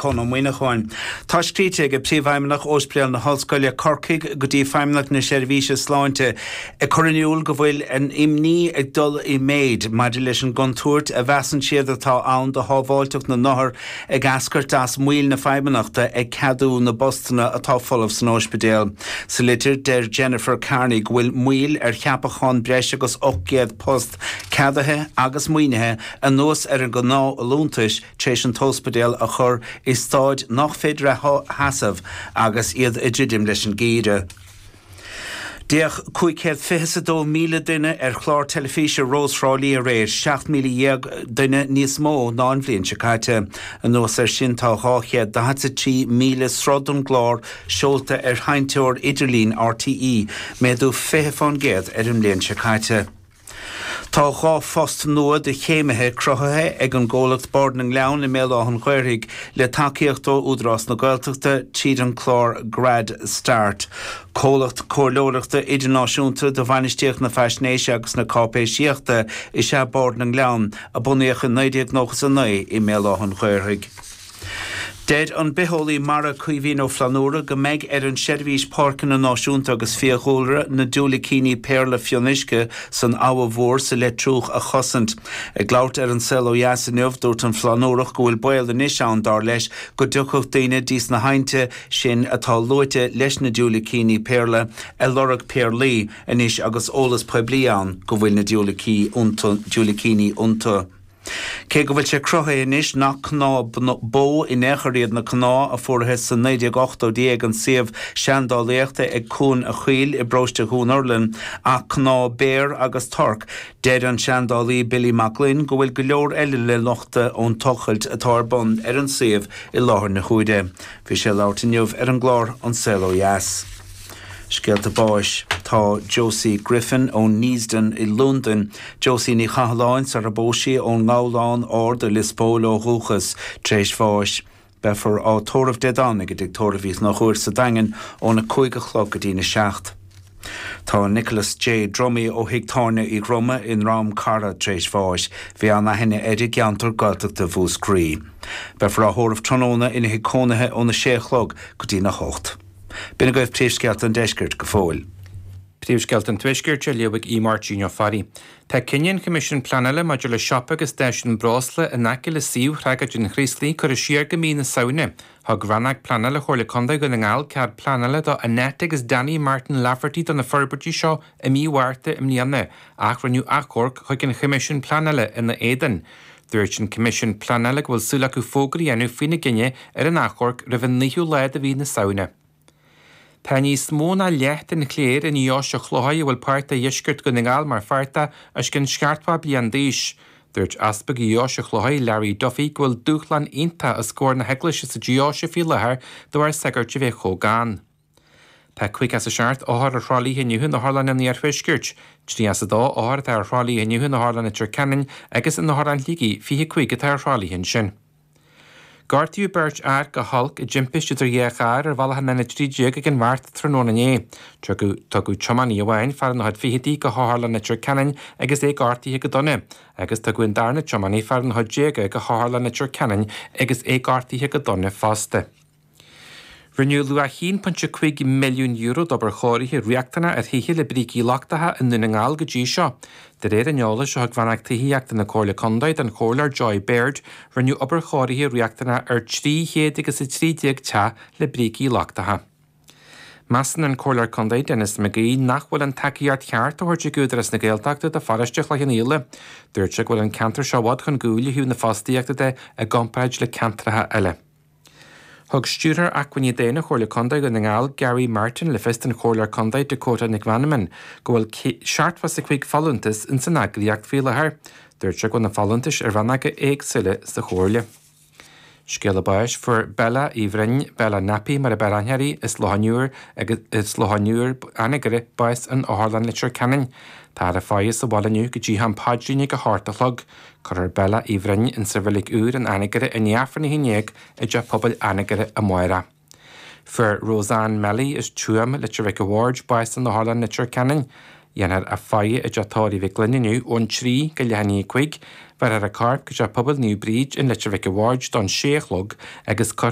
Con Ó Muíneacháin. Tá scríte ag Príomhfheidhmeannach Ospidéal na hOllscoile, Corcaigh, go dtí Feidhmeannacht na Seirbhíse Sláinte ag cur in iúl go bhfuil a n-imní ag dul i méid maidir leis an gcontúirt a mheasann siad atá ann do shábháilteacht na n-othar ag eascairt as moill na Feidhmeannachta ag ceadú na bpostanna atá folamh san ospidéal. Sa litir, deir Jennifer Kearney go bhfuil moill ar cheapachán breis agus 800 post ceadaithe agus maoinithe anuas ar an ngnáthfholúntais tar éis an t-ospidéal a chur i staid nach féidir a sheasamh agus iad ag druidim leis an geimhreadh. D'fhéach 522,000 duine ar chlár teilifíse Rós Thrá Lí aréir, 17,000 duine níos mó ná an bhliain seo caite. Anuas air sin tá 243,000 sruth den gclár seolta ar sheinnteoir idirlín RTÉ, méadú 20% ar an mbliain seo caite. Tá 2 phost nua do chéimithe cruthaithe ag an gcomhlacht Bord na nGleann i mBéal Átha an Ghaorthaidh le tacaíocht ó Údarás na Gaeltachta tríd an clár Grad Start. Comhlacht comhairleoireachta idirnáisiúnta do bhainistíocht na faisnéise agus na cáipéisíochta is ea Bord na nGleann, a bunaíodh i 1999 i mBéal Átha an Ghaorthaidh. Deir an bitheolaí mara Caoimhín Ó Flannúra go mbeidh ar an Seirbhís Páirceanna Náisiúnta agus Fiadhúlra na diúilicíní péarla fionnuisce san Abha Mhór sa Leitriúch a chosaint. Ag labhairt ar An Saol Ó Dheas inniu, dúirt an Flannúrach go bhfuil baol anois ann, dar leis, go dtiocfadh daoine dtí sna haibhnte sin atá luaite leis na diúilicíní péarla ag lorg péarlaí anois agus eolas poiblí ann go bhfuil na diúilicíní iontu. Cé go bhfuil sé cruthaithe anois nach cnámha bó in aon chor iad na cnámha a fuarthas sna 1980idí ag an suíomh seandálaíochta ag Cuan a' Choill i bparóiste Dhún Urlann ach cnámha béar agus torc, deir an seandálaí Billy Mac Gloinn go bhfuil go leor eile le nochtadh ón tochailt atá ar bun ar an suíomh i láthair na huaire. Bhí sé ag labhairt inniu ar an gclár An Saol Ó Dheas. Scéalta báis. Tá Josie Griffin ó Neasden i Londain, Josie Ní Chathalláin sar a bpós sí ón nGabhlán Ard i Lios Póil ó dhúchas, tar éis bháis. Beifear á tórramh Dé Domhnaigh i dTigh Tórraimh Uí Chonchúir sa Daingean óna 5 a chlog go dtína 7. Tá Nicholas J. Dromey ó Thigh Tábhairne Uí Dhroma i nDrom Carra tar éis bháis. Bhí an-aithne air i gceantar Gaeltachta Mhúscraí. Beifear á thórramh tráthnóna ina thigh cónaithe óna 6 a chlog go dtína 8. B'in agaibh príomhscéalta an deiscirt go fóill. Príomhscéalta an Tuaiscirt á léamh ag Máirtín Ó Fearraigh. Tá cinneadh an Choimisiúin Pleanála maidir le siopa agus stáisiún breosla in aice le suíomh thragóid an Chraoslaigh curtha siar go mí na Samhna. Thug Rannóg Pleanála Chomhairle Contae Dhún na nGall cead pleanála do Annette agus Danny Martin Lafferty do na forbairtí seo i mí Mhárta i mbliana ach rinneadh achomharc chuig an Choimisiún Pleanála ina éadan. Dúirt an Coimisiún Pleanála go bhfuil súil acu fógra a dhéanamh faoina gcinneadh ar an achomharc roimh an naoú lá de mhí na Samhna. Tá níos mó ná leath den chléir i nDeoise Chlóirthigh a bhfuil páirt de dheisceart Dhún na nGall mar pháirt de, os cionn 70 bliain d'aois. Dúirt Easpag Dheoise Chlóirthigh, Larry Duffy, go bhfuil dúshlán iontach os comhair na hEaglaise sa deoise faoi láthair de bharr sagairt a bheith chomh gann. Tá 57 othar ar thralaithe inniu in otharlann an Iarthuaiscirt. 32 othar atá ar thralaithe inniu in Otharlann Leitir Ceanainn agus in Otharlann Shligigh, 25 atá ar thralaithe ansin. Gortaíodh beirt fhear go holc i dtimpiste idir dhá charr ar bhealach an N13 ag an Bheart tráthnóna inné. Tugadh tugadh tiománaí amháin, fear ina chuid fichidí, go hOtharlann Leitir Ceanainn agus é gortaithe go dona, agus tugadh an darna tiománaí, fear ina chuid déaga, go hOtharlann Leitir Ceanainn agus é gortaithe go dona fosta. Rinneadh luach €1.5 milliún d'obair chóirithe riachtanach ar thithe le brící lochtacha i nDún na nGall go dtí seo. De réir an eolais a thug Rannóg Tithíochta na Comhairle Contae don Chomhairleoir Joy Baird, rinneadh obair chóirithe riachtanach ar 313 teach le brící lochtacha. Measann an Comhairleoir Contae Denis McGee nach bhfuil an tacaíocht cheart á thabhairt ag Údarás na Gaeltachta do pharóiste Chloich Cheann Fhaola. Dúirt sé go bhfuil an ceantar seo i bhfad chun cúil ó thaobh na fostaíochta de i gcomparáid le ceantracha eile. Thug Stiúrthóir Acmhainní Daonna Chomhairle Contae Dhún na nGall, Gary Martin, le fios don Chomhairleoir Contae Dakota Nic Mheanman go bhfuil 75 folúntas ins an eagraíocht faoi láthair. Dúirt sé go bhfuil na folúntais i rannóga éagsúla sa Chomhairle. Scéala báis, Fuair Bella Uí Bhroin, Bella Nappy mar a b'fhearr aithne uirthi, as Loch an Iúir agus as Loch an Iúir, Anagaire, bás in Otharlann Leitir Ceanainn. Táthar á faire sa bhaile inniu go dtí am paidrín ag a hocht a chlog. Cuirfear Bella Uí Bhroin insa Reilig Úr in Anagaire i ndiaidh Aifreann 11 i dTeach Pobail Anagaire amárach. Fuair Roseanne Melly as Tuaim, Leitir Mhic a' Bhaird, bás in Otharlann Leitir Ceanainn. Dhéanfar a faire i dTeach Tórraimh Mhic Gloinn inniu ón 3 go leath i ndiaidh 5. Bhéarfar a corp go Teach Pobail Naomh Bríd in Leitir Mhic a' Bhaird don 6 a chlog agus cuirfear.